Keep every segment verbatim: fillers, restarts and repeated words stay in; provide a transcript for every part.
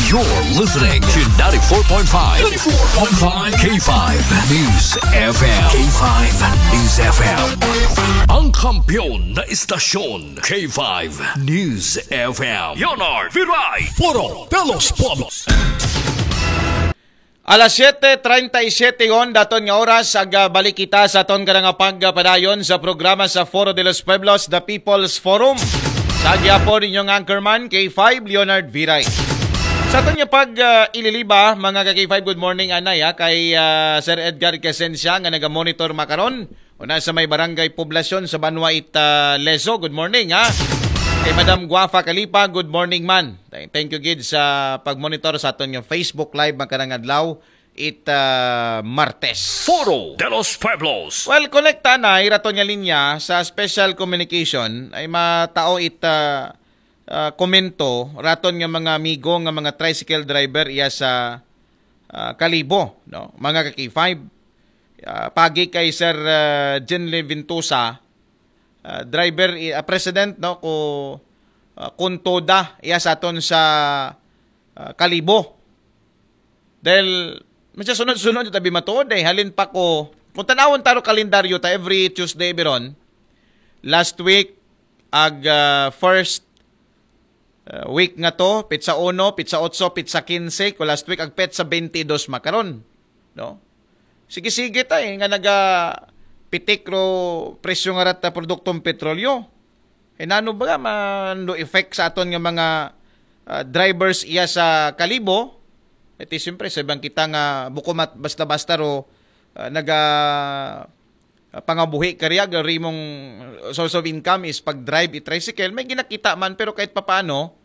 You're listening to ninety-four point five, ninety-four point five K five News F M. K five News F M. Ang kampiyon na istasyon, K five News F M. Leonard Viray. Foro de los Pueblos. Alas siyete treinta y siete hon daton nga oras, ag, ah, balik kita sa aton karang pagpadayon sa programa sa Foro de los Pueblos, The People's Forum. Sa gihapon, inyong anchorman, K five Leonard Viray. Sa aton nga pag, ah, ililiba, mga ka K five, good morning, anay, ha, kay, ah, Sir Edgar Quesencia nga naga-monitor makaron. Una sa may barangay poblasyon sa Banwa it, ah, Lezo. Good morning, ha. Kay Madam Guafa Kalipa, good morning man. Thank, thank you gid sa pag-monitor sa aton nga Facebook Live makarang adlaw it, ah, Martes. Foro de los Pueblos. Well, konekta na iraton nga linya sa special communication ay matao it, ah, ah, komento raton nga mga amigo nga mga tricycle driver iya sa, ah, Kalibo, no? Mga ka K five. Ah, pagi kay Sir, ah, Jenly Ventosa, ah, driver, i-, ah, president, no, ko, ah, Kontoda, iya sa aton sa, ah, Kalibo. Dahil, medyo sunod-sunod yung tabi matuod, eh. Halin pa ko, kung tanawon taro kalendaryo ta every Tuesday, biron, last week, ag, ah, first, ah, week nga to, petsa uno, petsa otso, petsa kinse, ko last week, ag petsa bente dos makaron. No? Sige-sige ta, eh, nga naga pitik ro presyo nga rata produktong petrolyo. Eh, nano ba nga man do effect sa aton nga mga, ah, drivers iya sa Kalibo? Iti, siyempre, sa ibang kita nga buko mat-, basta-basta ro, ah, naga, ah, pangabuhi ka riya, rimong source of income is pag-drive i-tricycle, may ginakita man, pero kahit papaano,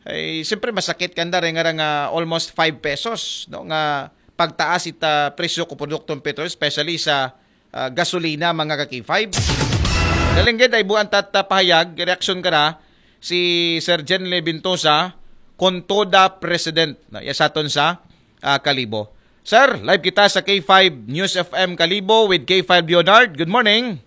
ay, siyempre, masakit kanda rin nga, nga almost five pesos, no, nga pagtaas ita presyo ko produktong petrol, especially sa, ah, gasolina, mga ka K five. Dalinggid ay buwan tat, ah, pahayag, reaksyon ka ra, si Sir Jenly Ventosa, Kontoda President, no, iya sa aton sa, ah, Kalibo. Sir, live kita sa K five News F M Kalibo with K five Leonard. Good morning.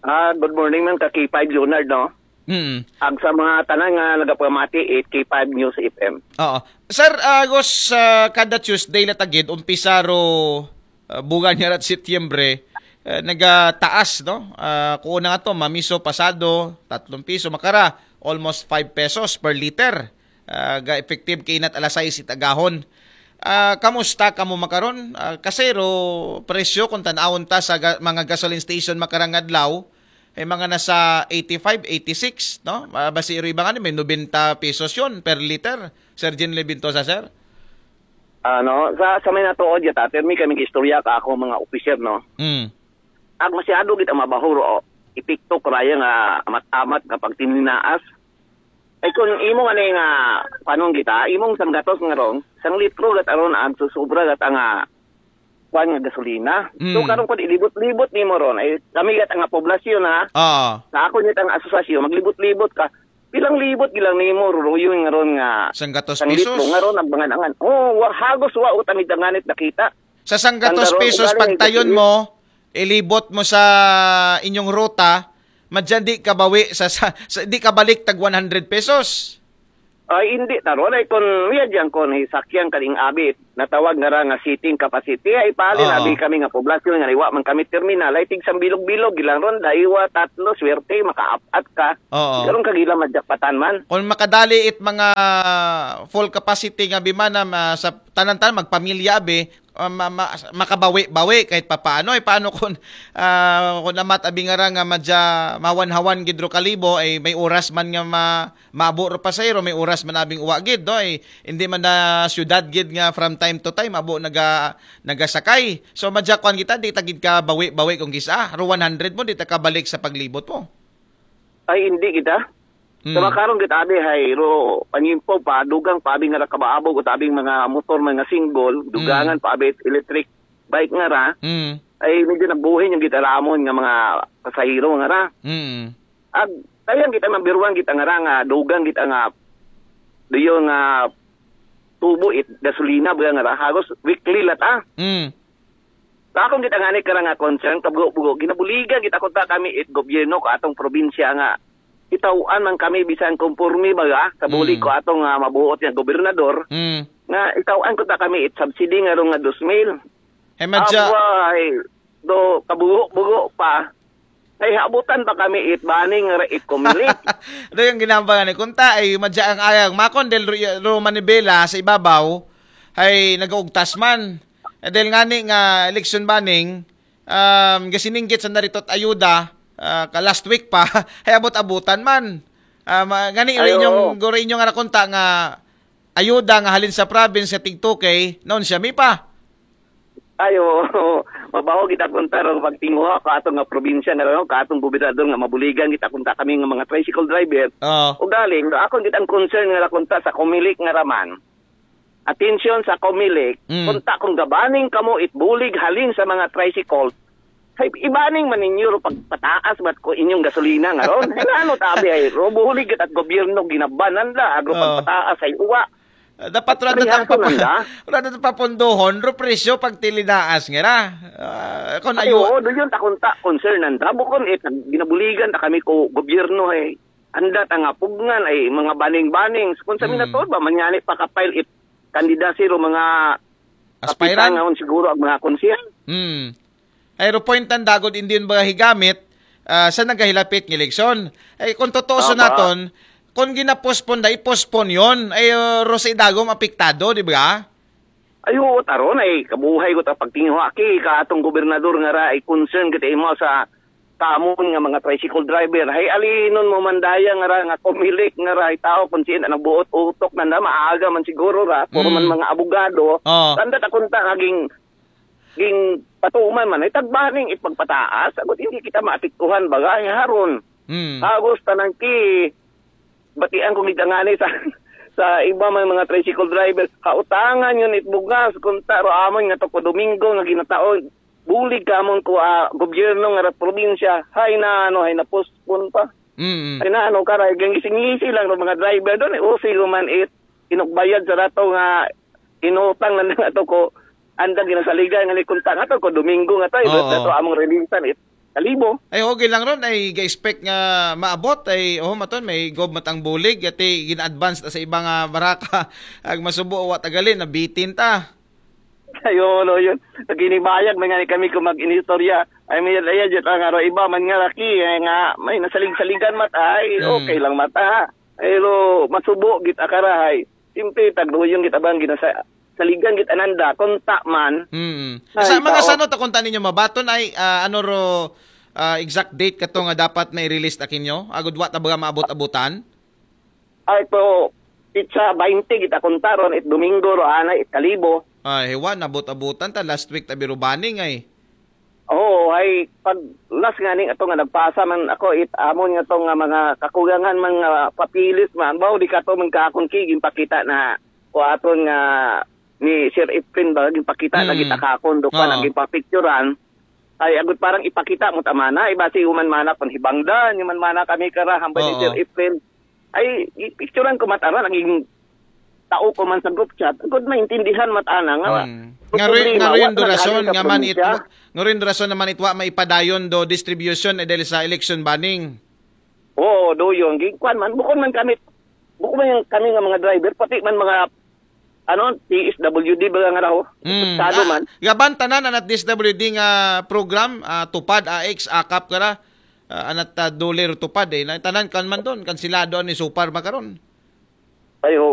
Ah, good morning man ka K five Leonard, no? Mm. Ag sa mga tanan nga nagapamati, it K five News F M. Oo. Sir, agos, ah, kada Tuesday la tagid, umpisa ro, ah, buwan nga rat Setyembre, ah, nagataas, no? Ah, kuon na nga to, mamiso, pasado, tatlong piso, makara, almost five pesos per liter. Ah, ga effective kay inat alas sais it agahon. Ah, kamusta kamo makaron? Ah, kasi ro presyo kung tanawon ta sa ga-, mga gasoline station makarang adlaw, ay mga nasa eighty-five, eighty-six, no? Ah, basi ro iba nga ni, may nobenta pesos yon per liter, Sir Jean Levintosa, sir? Ano, sa, sa may natuod ya, ta, permi kami istorya ka ako mga officer, no? Mm. Ag masyado gid ang mabahuro, o, epekto karaya nga amat-amat nga pagtininaas. Ay, kung imo nga ni nga, panong kita, imong sanggatos nga ron, sang litro gat aron ang susubra gat ang, ah, kwan nga gasolina. So, Mm. karon kung ilibot-libot nimo ron, ay, kami gat ang poblasyon, ha? Ah. Sa ako niya ang asosasyon, maglibot-libot ka. Pilang libot gilang nimo, ruruyo nga ron nga Sanggatos sang litro, pesos? Nga ron ang mangan-angan. Oh, wa, hagos wa utang itanganit nakita. Sa sanggatos Ang karon, pesos, ugali pagtayon ni mo, ilibot mo sa inyong ruta, madyan di kabawi sa, sa, sa, di kabalik tag one hundred pesos. Ay, hindi taron. Ay, kung, uya dyan, kung hisakyan kaning abit, natawag nga ra nga seating capacity, ay, pali Oo. na abi kami nga poblasyon nga iwa man kami terminal, ay, tig sang bilog-bilog, gilang ron, daiwa, tatlo, swerte, makaapat ka. Oo. Karon kagila madjakpatan man. Kung makadali it mga full capacity nga bimana, ma-, sa tanan-tanan, magpamilya, abi, ah, ma-, ma-, makabawi-bawi kahit papaano. Eh, paano kung, ah, kung amat abi nga ra nga madya mawanhawan gid ro Kalibo, ay may oras man nga ma-, maabo ro pasahero, may oras man abing uwa gid, no? Ay hindi man na syudad gid nga from time to time abo naga-, nagasakay. So, madya kuan kita, di ta gid ka bawi-bawi kung kisa. Ro one hundred mo, di ta kabalik sa paglibot mo. Ay, hindi kita. Mm. Sa makaron kita, abi, hay, ro, panyimpo pa, dugang pa, abi, nga ra kabaabo, ko tabing mga motor, mga single, dugangan Mm. pa, abi, electric bike nga ra, Mm. ay, medyo nagbuhin yung gitaramon nga mga pasahero nga ra. Mm. Ag, kayang kita, mabiruan kita nga ra, nga, dugang kita nga, doyo nga, tubo it, gasolina, ba nga ra, hagos, weekly lat, ah. Mm. Sa akong kita nga ni karang nga concern, kabugo-bugo, ginabuligan kita kung ta kami it gobyerno ko atong probinsya nga itaw-an man kami bisan konporme baga sa bulig ko atong, ah, mabuot nga gobernador, Mm. nga itaw-an ko ta kami it subsidy nga ron nga dos mil. Ay, madya. Abay, do kabugo-bugo pa. Ay, habutan pa kami it baning nga ra it Comelec. Do yung ginamba nga ni kunta, ay, madya ang ayang makon del ro manibela sa ibabaw, ay, nagaugtas man. Eh, dahil nga ni nga election baning, um, gasiningkit sa narito at ayuda, ah, ka last week pa, ay abot-abutan man. Ah, ma-, gani Ay, inyong, oo. Guro inyong arakunta nga ayuda nga halin sa province nga tig two K, noon siya mi pa. Ay, oo. Mabaho kita kunta ron pagtinguha ka atong nga probinsya nga ron, ka atong gobernador nga mabuligan kita kunta kami nga mga tricycle driver. Oo. O galing, akon kitang concern nga kunta sa Comelec nga raman. Atensyon sa Comelec, Mm. kunta kung gabaning kamo it bulig halin sa mga tricycle, hay ibaning man ninyo ro pagpataas bat ko inyong gasolina nga ron. Hay ano tabi ay ro, bulig at gobyerno ginabanan da, agro Oo. pagpataas ay uwa. Ah, dapat ra Prihaso tatang papa-, nanda? Ra tatang papundohon, ro presyo pag tilinaas nga ra. Ah, kung Ay, ayo. Oo, doon yun, takon ta, concern nanda. Bukon, eh, ginabuligan ta kami ko gobyerno, eh. Anda ta nga pugngan, ay mga baning-baning. Kung sa Hmm. minatod ba, manyani pa kapile it candidacy ro mga Aspirant? kapitan nga on siguro ang mga konsehal. Hmm. Ay, ro point ang dagod, hindi yun ba higamit, ah, sa nagahilapit ng eleksyon. Ay, kung totoo sa Tama. naton, kung ginapospon da, ipospon yun. Ay, uh, ro sa idagom apektado, di ba? Ay, oo, taron, ay, kabuhay ko ta pagtinguha, ki, ka atong gobernador nga ra, ay concern kita imo sa tamon nga mga tricycle driver. Hay, alinon mo man daya nga ra, nga Comelec nga ra, ay tao, kung sino ang buot utok na na, maaga man siguro ra, puro man Hmm. mga abogado. Oo. Tanda ta kunta, kaging, ging patuman man, ay tagbaning ipagpataas, agot hindi kita maapektuhan, bagay, haron. Hmm. Agos, tanan ki, batian ko gitangani sa, sa iba may mga tricycle driver, kautangan yun it bugas, kunta ro amon nga to ko Domingo nga ginataon, bulig kamon ko, ah, gobyerno nga ra probinsya, hay na, ano, hay na postpone pa. Mm. Hay na, ano, karay, gang gising-ngisi lang ro mga driver doon, eh, usi ko man it, inugbayad sa rato nga, inutang na nga to ko, anda ginasaligan nga ni kunta nga to ko Domingo nga to, eh, Oo. Ito among releasean, it, kalibo. Ay, okay lang ron. Ay, ga-expect nga maabot. Ay, oh, maton, may gob matang bulig. Ati, gina-advance ta sa iba nga baraka. Ag masubo, wa tagalin, nabitin ta. Ayun, oh, yun. Naginibayag, may nga ni kami kung mag-inistorya. Ay, may ayan, dyan, nga ro, iba man nga laki, eh, nga, may nasalig-saligan mat, ay, Hmm. okay lang mat, ah. Pero, masubo, git akarahay. Simple, tagduyong git abang ginasa-, saligan git ananda, konta man. Mm. Ay, Sa mga tao. Sano ta konta ninyo mabaton ay, ah, ano ro, ah, exact date kato nga dapat na i-release ta kinyo? Agud wa ta baga maabot-abutan? Ay, to, itsa bainte git akonta ron, it Domingo ro, ana, it kalibo. Ay, hiwa, nabot-abutan ta. Last week, tabi ro baning, ay. Oo, ay, pag last nga ning ato nga nagpasa man ako, it amon nga to nga mga kakugangan man nga papilis man, bawo di ka to man kakon ki, ginpakita na ko aton nga ni Sir Efren ba, ginpakita na Hmm. gita kakon, do pa na Oo. ginpapicturan. Ay, agut parang ipakita mo tama na, iba si human mana kon hibangdan, human mana kami kara, hambal ni Oo. Sir Efren. Ay, i-, picturean ko mata ra, naging tao ko man sa group chat. Agud maintindihan mata na nga. Hmm. Nga rin, problema, nga rin wa na rason, naghalin sa nga man it-, probinsya. Nga rin rason naman itwa maipadayon do distribution, eh, dahil sa election banning. Oo, do yun. Gi-, kuwan man, bukod man kami, bukod man yung kami nga mga driver, pati man mga, ano, T S W D ba nga raho? Hmm. Estado Ah, man. Gaban tanan anat D S W D nga program, ah, tupad, A X, akap kara, ah, anat, ah, doler tupad, eh. Na, tanan kan man doon, kansilado ni Supar makaron. Ay, oo.